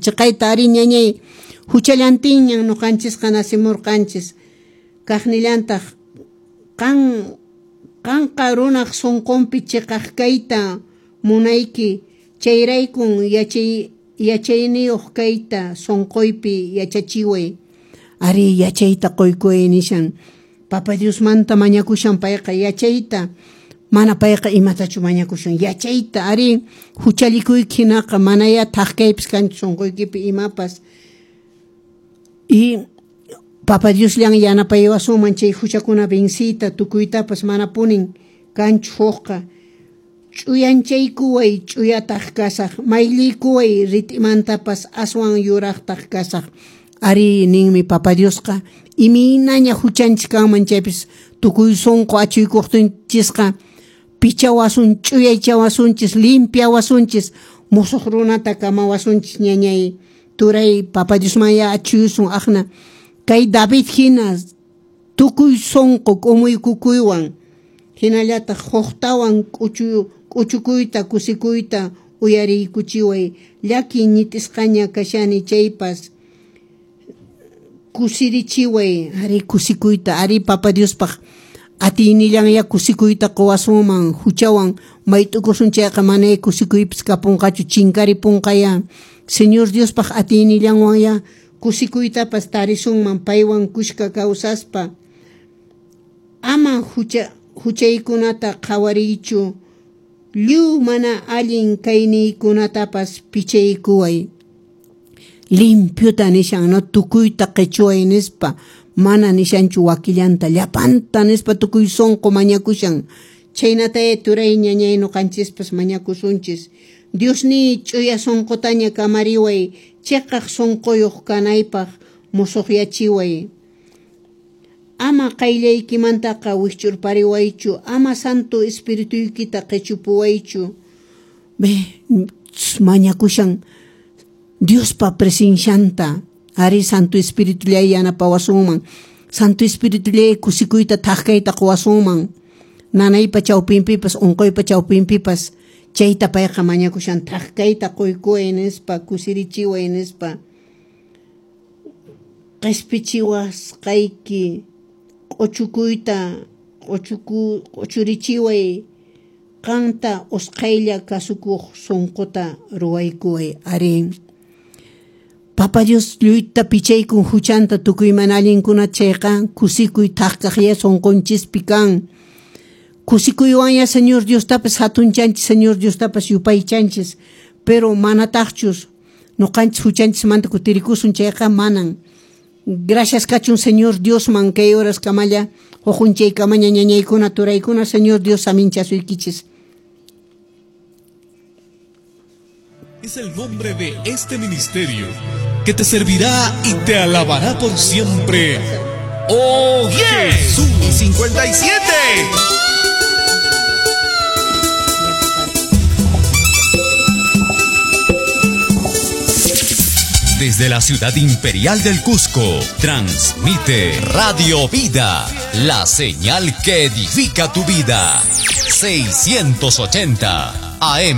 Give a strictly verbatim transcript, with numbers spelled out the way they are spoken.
Chiqayta ari ñañay huchallantinñan ñuqanchisqa nacimurqanchis kaqnillantaq qan qanqa runaq sunqunpi chiqaq kayta munayki chayraykun yachay yachayniyuq kayta sunquypi yachachiway ari yachayta quykuway nishan Papa Diosmanta mañakushan payqa yachayta mana payqa imatachu mañakushan yachayta ari huchallikuyki hinaqa manaya thaqkaypis kanchu sunquykipi imapas y Papa Diosllan yanapaywasunman chay huchakuna venciyta tukuytapas manapunin kanchu hukqa ch'uyanchaykuway ch'uyataq kasaq mayllikuway rit'imantapas aswan yuraqtaq kasaq ari ninmi Papa Diosqa imaynaña huchanchis kanman chaypis tukuy sunqu achuykuqtinchisqa pichawasun ch'uyaychawasunchis limpiawasunchis musuq runata kamawasunchis ñañay turay Papa Diosmanya achuyusun aqna kay David hina tukuy sunqu k'umuykukuywan hinallataq huqtawan k'uchu k'uchukuyta kusikuyta uyariykuchiway llaki ñitisqaña kashani chaypas kusirichiway ari kusikuyta ari Papa Diospaq atiynillanya kusikuyta quwasunman huchawan mayt'ukusun chayqa manay kusikuypis kapunqachu chinkaripunqaya Señor Diospaq atiynillanwanya kusikuytapas tarisunman paywan kushka kawsaspa ama hucha huchaykunata qhawariychu lliw mana allin kayniykunatapas pichaykuway limpiota nishan no tukuyta qichuway nispa mana nishanchu wakillanta llapanta nispa tukuy sunqu mañakushan chaynataya turay ñañay ñuqanchispas mañakusunchis Diosniy ch'uya sunqutaña kamariway chiqaq sunquyuq kanaypaq musuqyachiway ama qayllaykimantaqa wikch'urpariwaychu ama Santo Espirituykita qichupuwaychu mañakushan Diospa presencianta ari Santo Espiritullay yanapawasunman Santo Espiritullay kusikuyta thaqkayta quwasunman nanaypa chawpinpipas unquypa chawpinpipas chayta payqa mañakushan thaqkayta quykuway nispa kusirichiway nispa qispichiwasqayki q'uchukuyta q'uchuku q'uchurichiway qanta usqhaylla kasukuq sunquta ruwaykuway ari Papa Dios lluyta pichaykun huchanta tukuy mana allinkunata chayqa kusikuy thaqkaqlla sunqunchispi kan kusikuywanya Señor Diostapas hatunchanchis Señor Diostapas yupaychanchis pero manataqchus ñuqanchis huchanchismanta kutirikusun chayqa manan gracias kachun Señor Diosman kay horas kamalla huqunchaykamaña ñañaykuna turaykuna Señor Dios aminchasuykichis. Es el nombre de este ministerio que te servirá y te alabará por siempre. ¡Oh Jesús! cincuenta y siete. Desde la ciudad imperial del Cusco, transmite Radio Vida, la señal que edifica tu vida. seiscientos ochenta A M.